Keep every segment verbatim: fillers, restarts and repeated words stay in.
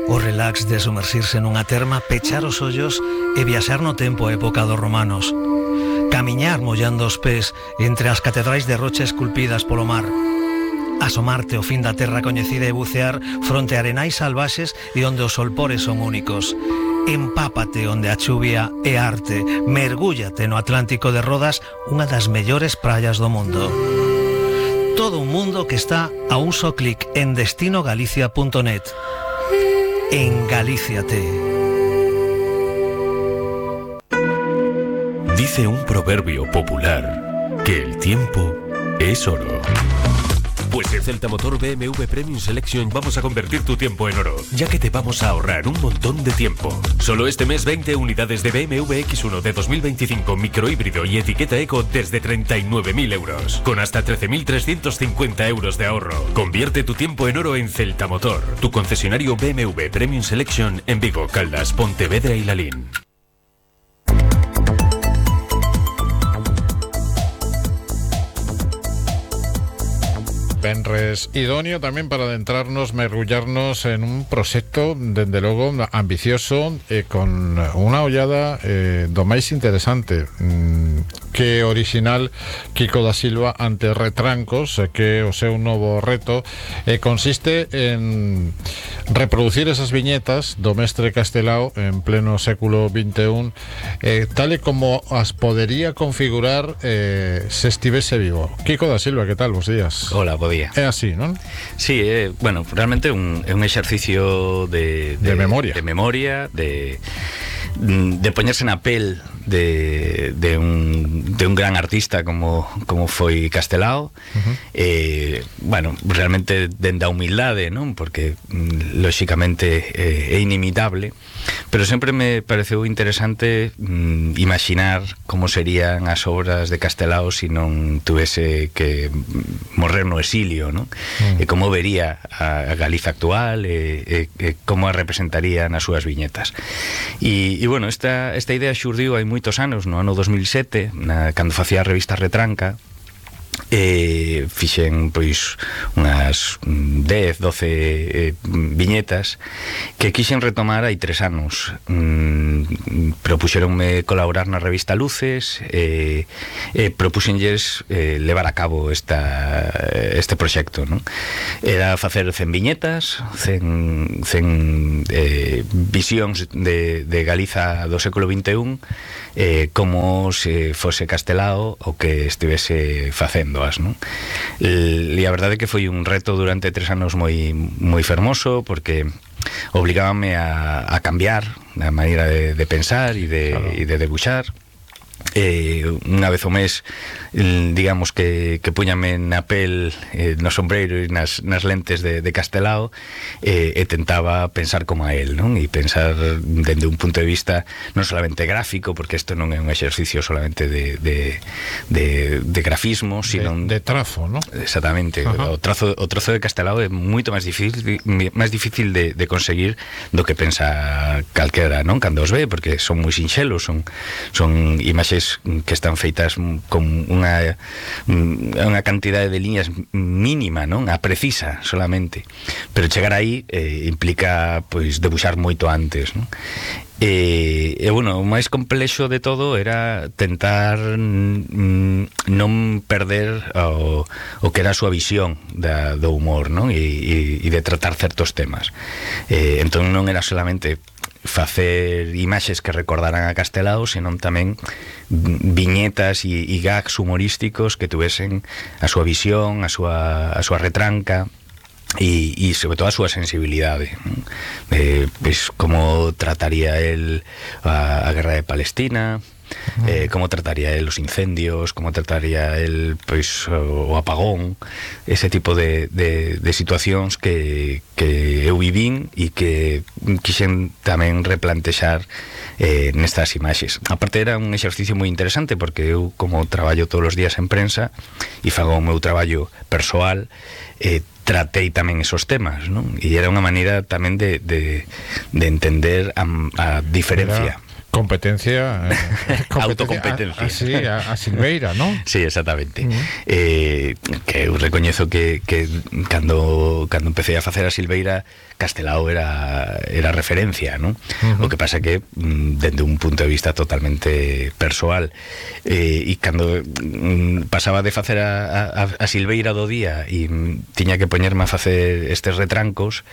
O relax de sumersirse nunha terma, pechar os ollos e viaxar no tempo a época dos romanos. Camiñar mollando os pés entre as catedrais de rocha esculpidas polo mar. Asomarte ao fin da terra coñecida e bucear fronte a arenais salvaxes e onde os solpores son únicos. Empápate onde a chuvia é arte. Mergúllate no Atlántico de Rodas, unha das mellores praias do mundo. Todo un mundo que está a un só clic en destino galicia punto net. Engalíciate. Dice un proverbio popular que el tiempo es oro. Pues en Celta Motor B M W Premium Selection vamos a convertir tu tiempo en oro, ya que te vamos a ahorrar un montón de tiempo. Solo este mes veinte unidades de B M W X uno de dos mil veinticinco microhíbrido y etiqueta eco desde treinta y nueve mil euros, con hasta trece mil trescientos cincuenta euros de ahorro. Convierte tu tiempo en oro en Celta Motor, tu concesionario B M W Premium Selection en Vigo, Caldas, Pontevedra y Lalín. Venres idóneo tamén para adentrarnos, mergullarnos en un proxecto, dende logo, ambicioso e con unha ollada eh, do máis interesante mm, que original Quico da Silva ante Retrancos, que o seu novo reto eh, consiste en reproducir esas viñetas do mestre Castelao en pleno século vinte e un, eh, tal e como as podería configurar eh, se estivese vivo. Quico da Silva, que tal? Bos días. Hola, bo día. É así, non? Sí, é, bueno, realmente un, é un exercicio de, de, de memoria de memoria, de, de poñerse na pel de, de, un, de un gran artista como, como foi Castelao. Uh-huh. eh, bueno, realmente dende a humildade, non? Porque lóxicamente eh, é inimitable, pero sempre me pareceu interesante mm, imaginar como serían as obras de Castelao se non tuvese que morrer no exilio, non? Uh-huh. E como vería a, a Galiza actual e, e, e como a representaría nas súas viñetas. E, e bueno, esta, esta idea xurdiu hai moitos anos, no ano dos mil sete, na, cando facía a revista Retranca. E fixen pois unhas dez, doce eh, viñetas que quixen retomar hai tres anos. mm, Propuxeronme colaborar na revista Luces e, e propuxenlles eh, levar a cabo esta, este proxecto, non? Era facer cen viñetas, cen, cen eh, visións de, de Galiza do século vinte e un, eh, como se fose Castelao o que estivese facendo, non? E a verdade é que foi un reto durante tres anos moi moi fermoso, porque obligábame a, a cambiar a maneira de, de pensar e de, claro. e de debuxar. Eh, unha vez ao mes, digamos que, que puñame na pel, eh, no sombreiro e nas, nas lentes de, de Castelao, eh, e tentaba pensar como a él, non? E pensar dende un punto de vista non solamente gráfico, porque isto non é un exercicio solamente de, de, de, de grafismo, sino de, de trazo, non? Exactamente. O trazo, o trazo de Castelao é moito máis difícil máis difícil de, de conseguir do que pensa calquera, non? Cando os ve, porque son moi sinxelos, son, son imaxes que están feitas con unha unha cantidade de liñas mínima, non? A precisa solamente, pero chegar aí eh, implica pois debuxar moito antes, non? E, e bueno, o máis complexo de todo era tentar mm, non perder o, o que era a súa visión da, do humor, non? E, e, e de tratar certos temas. Eh, entón non era solamente facer imaxes que recordaran a Castelao, senón tamén viñetas e, e gags humorísticos que tuvesen a súa visión, a súa, a súa retranca e, e sobre todo a súa sensibilidade, eh, pues, como trataría el a, a guerra de Palestina, eh, como trataría el os incendios, como trataría el pois, o apagón, ese tipo de, de, de situacións que, que eu vivín e que quixen tamén replantexar eh, nestas imaxes. Aparte era un exercicio moi interesante, porque eu, como traballo todos os días en prensa e fago o meu traballo persoal, eh, tratei tamén esos temas, non? E era unha maneira tamén de, de, de entender a, a diferencia. Era... competencia, eh, competencia autocompetencia. A, a, sí, a, a Silveira, ¿no? Sí, exactamente. Uh-huh. eh, que eu recoñezo que, que cando, cando empecé a facer a Silveira, Castelao era, era referencia, ¿no? Uh-huh. O que pasa que dende un punto de vista totalmente persoal, eh, e cando mm, pasaba de facer a, a, a Silveira do día e mm, tiña que poñerme a facer estes retrancos,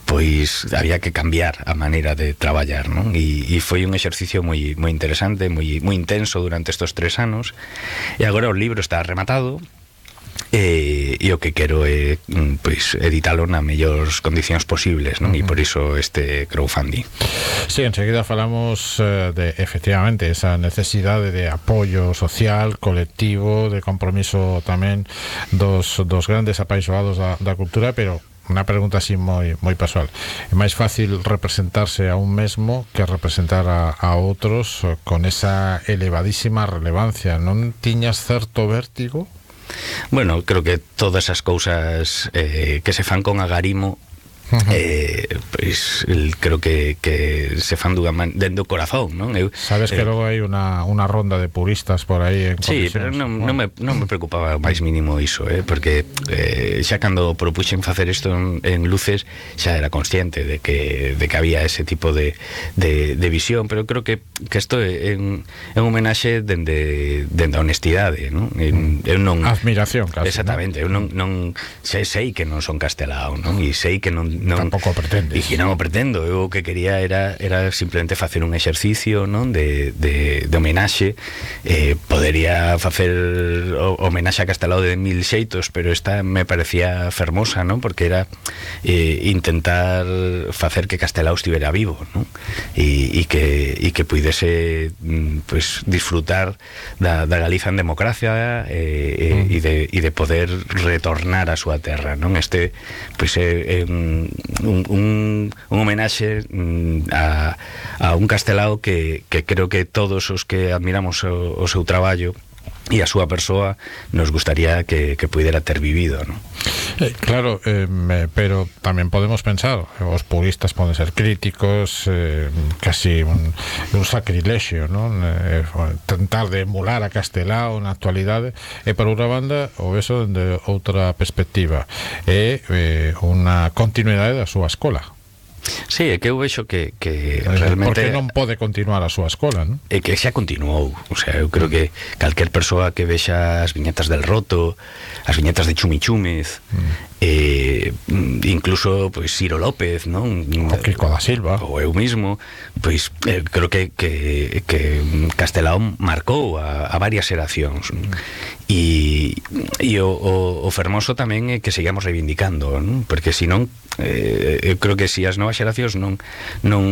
pois había que cambiar a maneira de traballar, non? E, e foi un exercicio moi moi interesante, moi moi intenso durante estes tres anos. E agora o libro está rematado. E, e o que quero é pois editalo nas mellores condicións posibles, non? Uh-huh. E por iso este crowdfunding. Sí, enseguida falamos eh, de efectivamente esa necesidade de apoio social, colectivo, de compromiso tamén dos, dos grandes apaixoados da, da cultura, pero unha pregunta así moi moi persoal. É máis fácil representarse a un mesmo que representar a, a outros con esa elevadísima relevancia. Non tiñas certo vértigo? Bueno, creo que todas as cousas eh, que se fan con agarimo, uh-huh. eh, pois creo que, que se fan dunha man, dentro do corazón, non? Eu, Sabes que eh, logo hai unha, unha ronda de puristas por aí en sí, pero non, non, me, non me preocupaba máis mínimo iso, eh, porque eh, xa cando propuxen facer isto en, en Luces xa era consciente de que, de que había ese tipo de, de, de visión, pero creo que, que isto é un, é un homenaxe dende, dende a honestidade, non? En, eu non admiración, casi, exactamente, ¿no? Eu non, non sei, sei que non son Castelao, non? E sei que non Non, tampouco pretendes. E que non o pretendo. Eu o que quería era, era simplemente facer un exercicio, non? De, de, de homenaxe. eh, Podería facer o, homenaxe a Castelao de mil xeitos, pero esta me parecía fermosa, non? Porque era eh, intentar facer que Castelao estivera vivo, non? E, e que, e que puidese pues, disfrutar da, da Galiza en democracia, eh, mm. e, de, e de poder retornar a súa terra, non? Este pois é, é un Un, un, un homenaxe a, a un Castelao que, que creo que todos os que admiramos o, o seu traballo e a súa persoa nos gustaría que, que pudera ter vivido, non? Eh, claro, eh, me, pero tamén podemos pensar, os puristas poden ser críticos, eh, casi un, un sacrilexio, non? Eh, tentar de emular a Castelao na actualidade, e por outra banda o eso de outra perspectiva é eh, unha continuidade da súa escola. Sí, é que eu vexo que, que realmente... Porque non pode continuar a súa escola, non? É que xa continuou. O sea, eu creo que calquer persoa que vexa as viñetas del Roto, as viñetas de Chumi Chúmez, mm. eh, incluso pois Ciro López, non? O Kiko da Silva. Ou eu mismo, pois eh, creo que, que, que Castelao marcou a, a varias xeracións. E, e o, o, o fermoso tamén é que sigamos reivindicando, non? Porque senón eh, eu creo que se as novas xeracións non, non,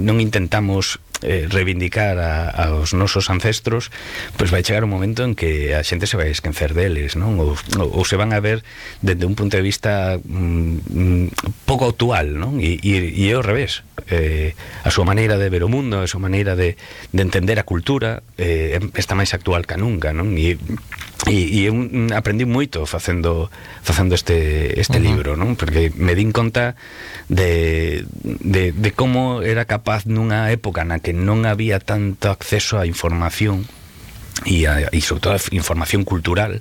non intentamos eh, reivindicar a, aos nosos ancestros, pois vai chegar un momento en que a xente se vai esquecer deles, non? Ou, ou, ou se van a ver desde un punto de vista mm, pouco actual, non? E, e, e é ao revés, eh, a súa maneira de ver o mundo, a súa maneira de, de entender a cultura eh, está máis actual que nunca, non? E E, e eu aprendi moito facendo facendo este este uh-huh. libro, non? Porque me din conta de, de, de como era capaz nunha época na que non había tanto acceso á información e, a, e sobre todo a información cultural,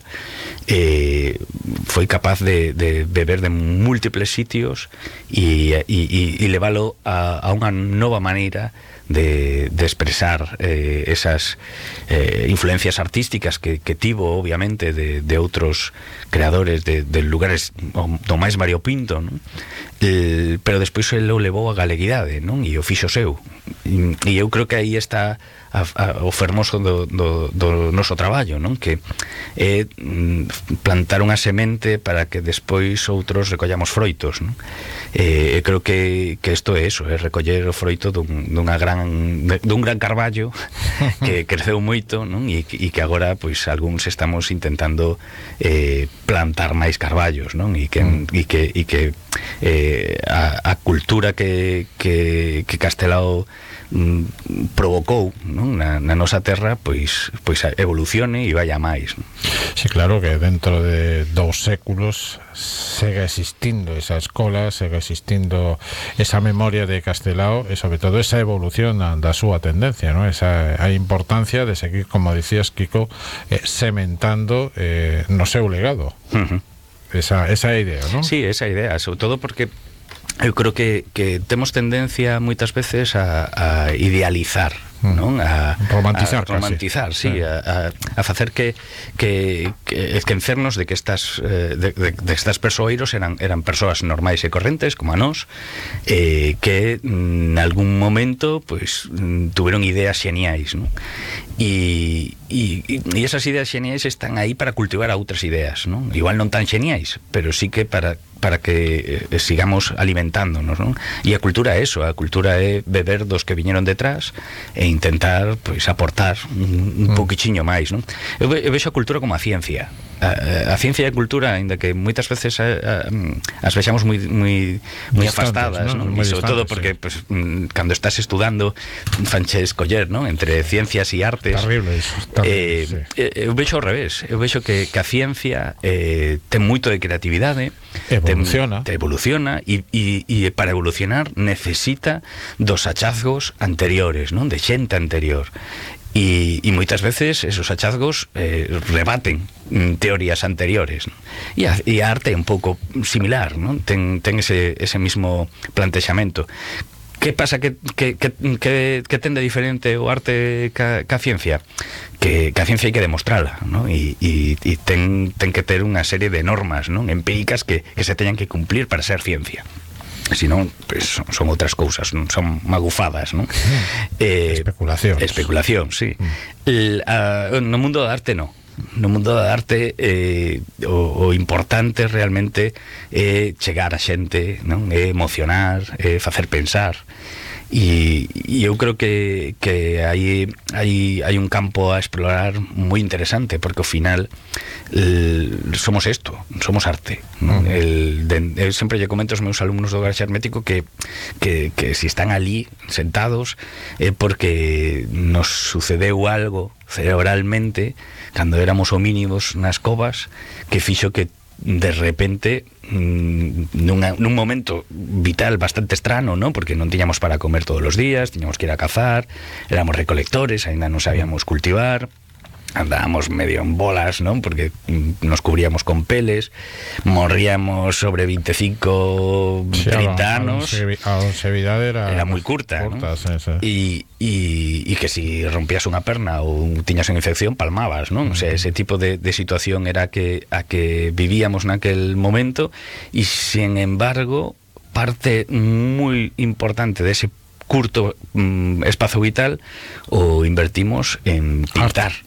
eh, foi capaz de, de beber de múltiples sitios e, e, e leválo a, a unha nova maneira de, de expresar eh, esas eh, influencias artísticas que, que tivo obviamente de, de outros creadores de, de lugares do máis variopinto, non? Eh, pero despois ele o levou a galeguidade, non? E o fixo seu, e, e eu creo que aí está a, a, o fermoso do, do, do noso traballo, non? Que é plantar unha semente para que despois outros recollamos froitos, non? Eh, creo que, que isto é eso, é recoller o froito dun, dunha gran dun gran carballo que creceu moito, non? E, e que agora pois algúns estamos intentando eh, plantar máis carballos, non? E que, mm. e que, e que eh, a, a cultura que, que, que Castelao mm, provocou, non? Na, na nosa terra pois, pois evolucione e vaya máis, non? Sí, claro que dentro de dous séculos sigue existindo esa escola, sigue existindo esa memoria de Castelao e sobre todo esa evolución da súa tendencia, ¿no? Esa a importancia de seguir, como dicías, Kiko, eh, sementando eh, no seu legado. Uh-huh. Esa, esa idea, ¿no? Sí, esa idea, sobre todo porque eu creo que, que temos tendencia moitas veces a, a idealizar, non? A romantizar, a romantizar, sí, sí. A, a, a facer que que, que esquecernos de que estas eh, de, de, de estas persoeiros eran eran persoas normais e correntes como a nós, eh, que en algún momento pues tuveron ideas xeniais, non? E, e, e esas ideas xeniais están aí para cultivar a outras ideas, non? Igual non tan xeniais, pero sí que para para que eh, sigamos alimentándonos, non? E a cultura é eso, a cultura é beber dos que viñeron detrás e intentar, pois, aportar un, un mm. pouquichiño máis, non? Eu, ve, eu vexo a cultura como a ciencia. A, a ciencia e a cultura, ainda que moitas veces a, a, as vexamos moi moi moi afastadas, non? Moi E sobre todo porque, sí. Pues, cando estás estudando fanche escoller, non? Entre ciencias e artes. Terrible iso. Terrible, eh, sí. Eu vexo ao revés. Eu vexo que, que a ciencia eh, ten moito de creatividade, evoluciona, ten, evoluciona e, e, e para evolucionar necesita dos hallazgos anteriores, non? De xente anterior. E, e moitas veces esos hallazgos eh, rebaten mm, teorías anteriores, ¿no? E, a, e a arte é un pouco similar, ¿no? Ten, ten ese, ese mismo plantexamento. Que pasa que, que, que, que, que ten de diferente o arte ca, ca ciencia? Que, que a ciencia hai que demostrala, ¿no? E, e, e ten, ten que ter unha serie de normas, ¿no? Empíricas que, que se teñan que cumplir para ser ciencia. Si non, pues, son, son outras cousas, non son magufadas, non? Mm. Eh, especulación. Especulación, sí. Mm. El, a, no mundo da arte, no. No mundo da arte eh, o, o importante realmente é eh, chegar a xente, non? É emocionar, é eh, facer pensar. E, e eu creo que, que hai, hai, hai un campo a explorar moi interesante, porque ao final el, somos isto, somos arte, ¿no? Uh-huh. El, de, eu sempre lle comento aos meus alumnos do Garaxe Hermético que, que, que si están ali sentados é eh, porque nos sucedeu algo cerebralmente cando éramos homínidos nas covas que fixo que de repente nunha, nun momento vital bastante estrano, ¿no? Porque non tiñamos para comer todos os días, tiñamos que ir a cazar, éramos recolectores, ainda non sabíamos cultivar, andábamos medio en bolas, ¿no? Porque nos cubríamos con peles, morríamos sobre veinticinco, sí, treinta anos, a longevidade era, era moi curta, curta, ¿no? Sí, sí. E, e, e que si rompías unha perna ou tiñas unha infección, palmabas, ¿no? O sea, ese tipo de, de situación era que a que vivíamos naquel momento, e sin embargo parte moi importante dese curto mm, espazo vital o invertimos en pintar. Arte.